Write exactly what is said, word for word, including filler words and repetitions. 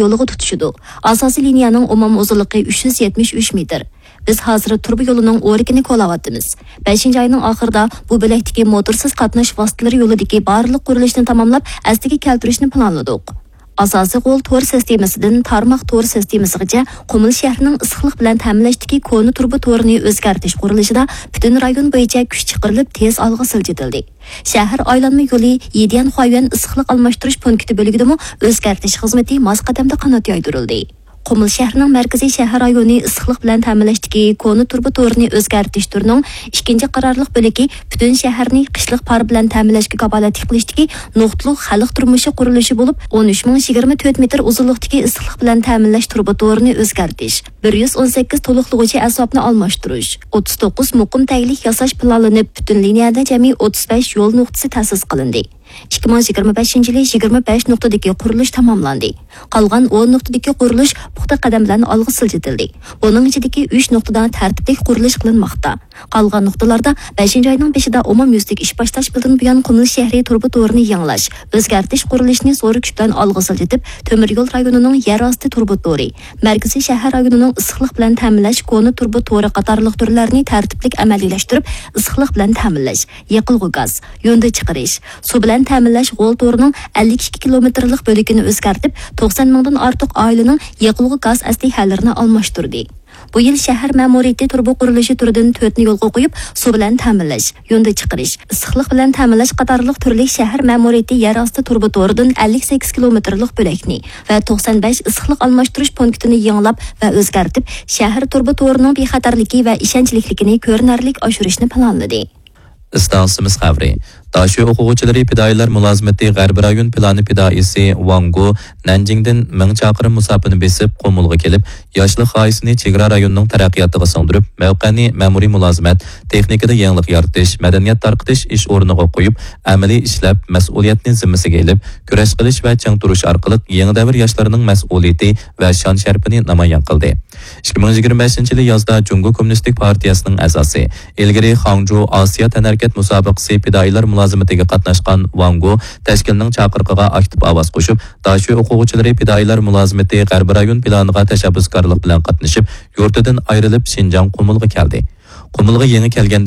يولىغا تۇتىشىدۇ. ئاساسىي لىنىيەنىڭ ئومۇمىي ئۇزۇنلۇقى ئۈچ يۈز يەتمىش ئۈچ مېتىر. بىز ھازىر تۇرۇبا يولىنىڭ ئورىكىنى كولاۋاتىمىز. بەشىنچى ئاينىڭ ئاخىرىدا بۇ بۆلەكتىكى موتورسىز قاتناش ۋاسىتىلىرى يولىدىكى بارلىق قۇرۇلۇشنى تاماملاپ، ئەسلىگە كەلتۈرۈشنى پىلانلىدۇق. ئاساسىي غول تور سىستېمىسىدىن تارماق تور سىستېمىسىغىچە قۇمۇل شەھىرىنىڭ ئىسسىقلىق بىلەن تەمىنلەشتىكى كونا تۇرۇبا تورىنى ئۆزگەرتىش قۇرۇلۇشىدا پۈتۈن رايون بويىچە كۈچ چىقىرىلىپ، تېز ئالغا سىلجىتىلدى. شەھەر ئايلانما يولى يىديەن خۇايۈەن ئىسسىقلىق ئالماشتۇرۇش پونكىتى بۆلىكىدىمۇ ئۆزگەرتىش خىزمىتى ماس قەدەمدە قانات يايدۇرۇلدى. قۇمۇل شەھىرىنىڭ مەركىزىي شەھەر رايونى ئىسسىقلىق بىلەن تەمىنلەشتىكى كونا تۇرۇبا تورىنى ئۆزگەرتىش تۈرىنىڭ ئىككىنچى قارارلىق بۆلىكى پۈتۈن شەھەرنى قىشلىق پار بىلەن تەمىنلەشكە كاپالەتلىك قىلىشتىكى نۇقتىلىق خەلق تۇرمۇشى قۇرۇلۇشى بولۇپ، ئون ئۈچ مىڭ يىگىرمە تۆت مېتىر ئۇزۇنلۇقتىكى ئىسسىقلىق بىلەن تەمىنلەش تۇرۇبا تورىنى ئۆزگەرتىش، بىر يۈز ئون سەككىز تولۇقلىغۇچى ئەسۋابنى ئالماشتۇرۇش، ئوتتۇز توققۇز مۇقىم تەگلىك ياساش پىلانلىنىپ، پۈتۈن لىنىيەدە جەمئىي ئوتتۇز بەش يول نۇقتىسى تەسىس قىلىندى. ئىككى مىڭ يىگىرمە بەشىنچى يىلى يىگىرمە بەش نۇقتىدىكى قۇرۇلۇش تاماملاندى. قالغان ئون نۇقتىدىكى قۇرۇلۇش پۇختا قەدەم بىلەن ئالغا سىلجىتىلدى. بۇنىڭ ئىچىدىكى ئۈچ نۇقتىدا تەرتىپلىك قۇرۇلۇش قىلىنماقتا. قالغان نۇقتىلاردا بەشىنچى ئاينىڭ بېشىدا ئومۇميۈزلۈك ئىش باشلاشتىن بۇيان قۇمۇل شەھىرى تۇرۇبا تورىنى يېڭىلاش، ئۆزگەرتىش قۇرۇلۇشىنى زور كۈچ بىلەن ئالغا سىلجىتىپ، تۆمۈر يول رايونىنىڭ يەر ئاستى تۇرۇبا تورى، مەركىزىي شەھەر رايونىنىڭ ئىسسىقلىق بىلەن تەمىنلەش كونا تۇرۇبا تورى قاتارلىق تۈرلەرنى تەرتىپلىك ئەمەلىيلەشتۈرۈپ، ئىسسىقلىق بىلەن تەمىنلەش، يېقىلغۇ گاز، يۇندى چىقىرىش، سۇ بىلەن تەمىنلەش غول تورىنىڭ ئەللىك ئىككى كىلومېتىرلىق بۆلىكىنى ئۆزگەرتىپ، توقسان مىڭدىن ئارتۇق ئائىلىنىڭ يېقىلغۇ گاز ئەسلىھەلىرىنى ئالماشتۇردى. بۇ يىل شەھەر مەمۇرىيىتى تۇرۇبا قۇرۇلۇشى تۈرىدىن تۆتنى يولغا قويۇپ، سۇ بىلەن تەمىنلەش، يۇندى چىقىرىش، ئىسسىقلىق بىلەن تەمىنلەش قاتارلىق تۈرلۈك شەھەر مەمۇرىيىتى يەر ئاستى تۇرۇبا تورىدىن ئەللىك سەككىز كىلومېتىرلىق بۆلەكنى ۋە توقسان بەش ئىسسىقلىق ئالماشتۇرۇش پونكىتىنى يېڭىلاپ ۋە ئۆزگەرتىپ، شەھەر تۇرۇبا تورىنىڭ بىخەتەرلىكى ۋە ئىشەنچلىكلىكىنى كۆرۈنەرلىك ئاشۇرۇشنى پىلانلىدى. ئىستانسىمىز خەۋىرى. داشۆ ئوقۇغۇچىلىرى پىدائىيلار مۇلازىمىتى غەربىي رايون پىلانى پىدائىيسى ۋاڭ گو نەنجىڭدىن مىڭ چاقىرىم مۇساپىنى بېسىپ، قۇمۇلغا كېلىپ، ياشلىق غايىسىنى چېگرا رايوننىڭ تەرەققىياتىغا سىڭدۈرۈپ، مەۋقەنى مەمۇرىي مۇلازىمەت، تېخنىكىدا يېڭىلىق يارىتىش، مەدەنىيەت تارقىتىش ئىش ئورنىغا قويۇپ، ئەمەلىي ئىشلەپ، مەسئۇلىيەتنى زىممىسىگە ئېلىپ، كۈرەش قىلىش ۋە چىڭ تۇرۇش ئارقىلىق يېڭى دەۋر ياشلىرىنىڭ مەسئۇلىيىتى ۋە شان-شەرىپىنى نامايان قىلدى. ئىككى مىڭ يىگىرمە بەشىنچى يىلى يازدا جۇڭگو كوممۇنىستىك پارتىيەسىنىڭ ئەزاسى، ئىلگىرى خاڭجۇ ئاسىيا تەنھەرىكەت مۇسابىقىسى پىدائىيلار مۇلازىمىتىگە قاتناشقان ۋاڭ گو تەشكىلنىڭ چاقىرىقىغا ئاكتىپ ئاۋاز قوشۇپ، داشۆ ئوقۇغۇچىلىرى پىدائىيلار مۇلازىمىتى غەربىي رايون پىلانىغا تەشەببۇسكارلىق بىلەن قاتنىشىپ، يۇرتىدىن ئايرىلىپ، شىنجاڭ قۇمۇلغا كەلدى. قۇمۇلغا يېڭى كەلگەندە